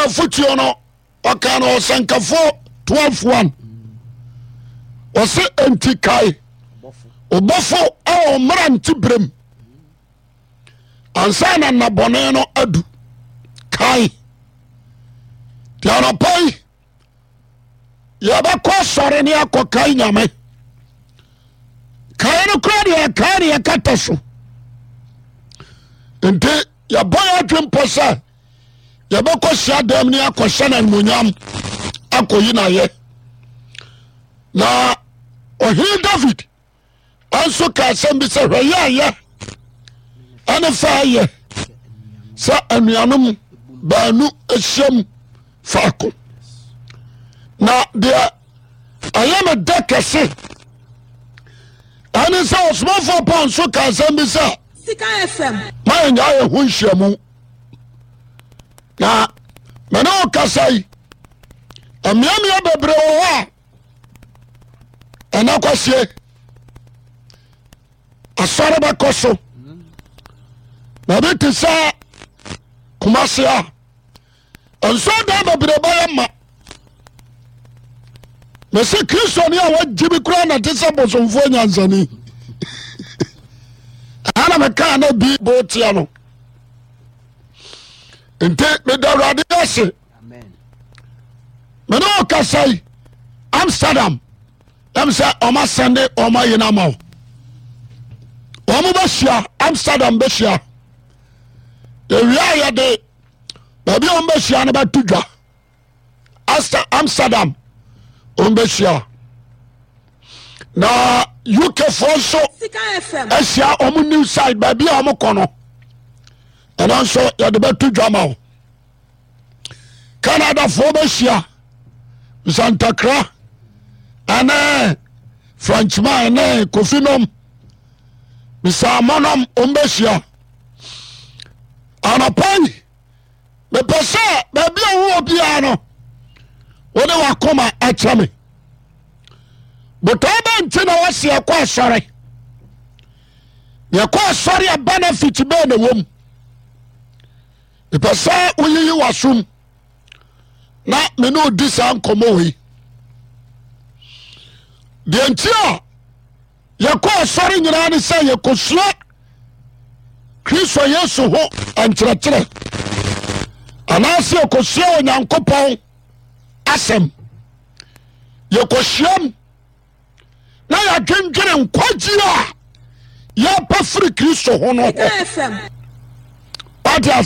Afotuo no ɔka no Ɔsɛnkafoɔ 12:1, ɔse enti kae ɔbɔfo a ɔmmara nte berɛm ansa na nnabɔne no adu. Kae deɛ anɔpa yi yɛbɛkɔ asɔre ne akɔkae Nyame. Kae no kora deɛ yɛkae ne yɛkata so, nti yɛbɔ yɛ adwempɔ sɛ yɛbɛkɔ hyia dɛm ne akɔhyɛ no animonyam akɔyi no ayɛ. Na ɔhene David nso ka asɛm bi sɛ, hwɛ yɛ ayɛ ɛne fa ayɛ sɛ anuanom baanu ahyiam faako. Na deɛ ɛyɛ me dɛ kɛse ɛne sɛ ɔsomafoɔ Paul nso ka asɛm bi sɛ ma yɛnya yɛ ho nhyiamu. Na mene wo kasa yi, mmeammea bebree wɔ hɔ a ɛna kwasie asɔre bɛkɔ so. Baabi te sɛ Kumase a nsɔdan bebree bɛyɛ ma. Mese Kristoni a wagye bi koraa na te sɛ bosomfoɔ nyansani. Ɛna mekaa na bi botea no nti meda Awurade ase. Mene wo kasa yi, Amsterdam ɛm sɛ ɔma sɛnde ɔma yi no ama wo. Wɔn bɛhyia Amsterdam, bɛhyia ewia a yɛde baabi a wɔn bɛhyia no bɛto dwa. Amsterdam wɔn bɛhyia, na UK foɔ nso ahyia wɔn new site baabi a wɔn kɔ no, ɛno nso yɛde bɛto dwa ma wo. Canadafoɔ bɛhyia nsantakra ɛne Frenchman ne Kofi nom bisaamɔnom wɔn bɛhyia anɔpa yi. Mepɛ sɛ baabi a wowɔ biara no wode wakoma akyɛ me. Botaa bɛ nti na wɔsi ɛkɔ asɔre? Yɛkɔ asɔre a benefit bɛɛ na wɔm. Mepɛ sɛ woyiyi w'asom na me ne odi saa nkɔmmɔ wei. Deɛ nti a yɛkɔ asɔre nyinaa ne sɛ yɛkɔsua Kristo Yesu ho nkyerɛkyerɛ anaasɛ yɛkɔsua Onyankopɔn asɛm. Yɛkɔhyiam na yɛadwendwene nkwagye a yɛpɛ firi Kristo ho no ho. Wate ase?